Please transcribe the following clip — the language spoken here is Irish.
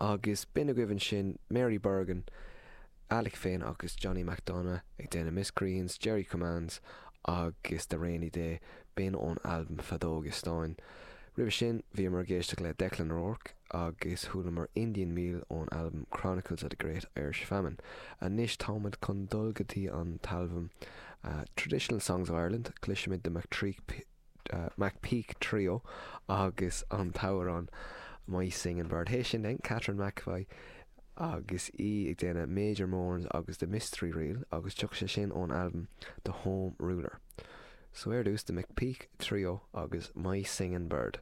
Agus b'in agaibh ansin Mary Bergin, Alec féin agus Johnny McDonagh ag déanamh Miscreants, Jerry Commands agus The Rainy Day, b'in ón albam Feadóga Stáin. Roimhe sin bhíomar ag éisteacht le Declan O'Rourke agus chualamar Indian Meal ón albam Chronicles of the Great Irish Famine. Anois táimid chun dul go dtí an t-albam Traditional Songs of Ireland, cloisfimid The McTreek McPeake Trio agus an t-amhrán My Singing Bird. Théis sin then, Catherine McEvoy agus í ag déanamh Major Mourns agus The Mystery Reel agus tiocfaidh sé sin ón albam The Home Ruler. So ar dtús The McPeake Trio agus My Singing Bird.